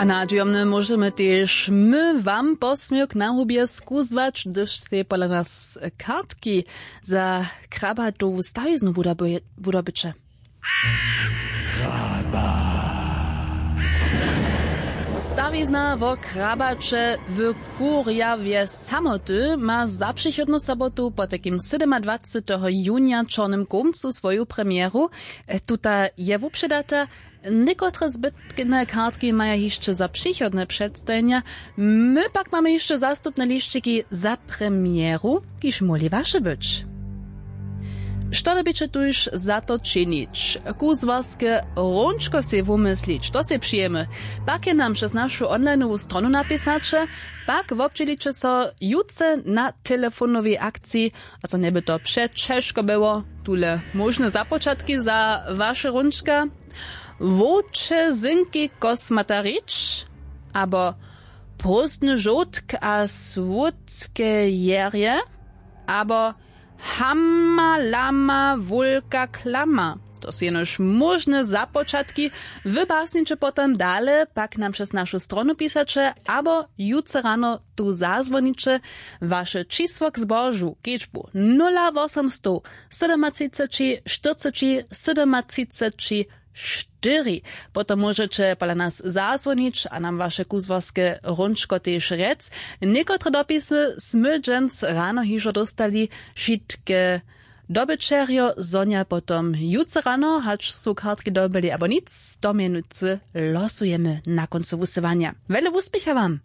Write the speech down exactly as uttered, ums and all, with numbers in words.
A nadźijomnje móžemy tež my wam posměwk na hubje skuzłać, hdyž sej pola nas kartki za krabatowu stawiznu wudobyće. Stawizna wo krabaće w kurjawje samoty ma za přichodnu sobotu, potajkim sydomadwaceteho junja w čornym kołmcu, swoju premjeru. Tuta je wupředata. Někotre zbytne kartki maja hišće za přichodne předstajenja. My pak mamy hišće zastupne lisćiki za premjeru, kiž móhli waše być. Što dyrbiće tuž za to činić? Kuzłarske hrónčko sej wumyslić, to sej přijemy. Pak je nam přez našu onlineowu stronu napisaće, pak wobdźěliće so jutře na telefonowej akciji. A co njeby to přećežko było? Tule móžne započatki za waše hrónčka: wowče zynkej kosmata rić, abo prózdny žołdk a słódke jerje, abo hama lama wulka klama. To su jenož móžne započatki. Wy basniće potom dale, pak nam přez našu stronu pisaće abo jutře rano tu zazwoniće. Waše čisło k zbožu, kedźbu: nula wosomstow sydomatřiceći štyrceći sydomatřiceći štyri. Potom móžeće pola nas zazwonić a nam waše kuzłarske hrónčko tež rjec. Někotre dopisy smy dźens rano hižo dóstali. Wšitke dobyćerjo zhonja potom jutře rano, hač su kartki dobyli abo nic, to mjenujcy losujemy na kóncu wusyłanja. Wjele wuspěcha wam.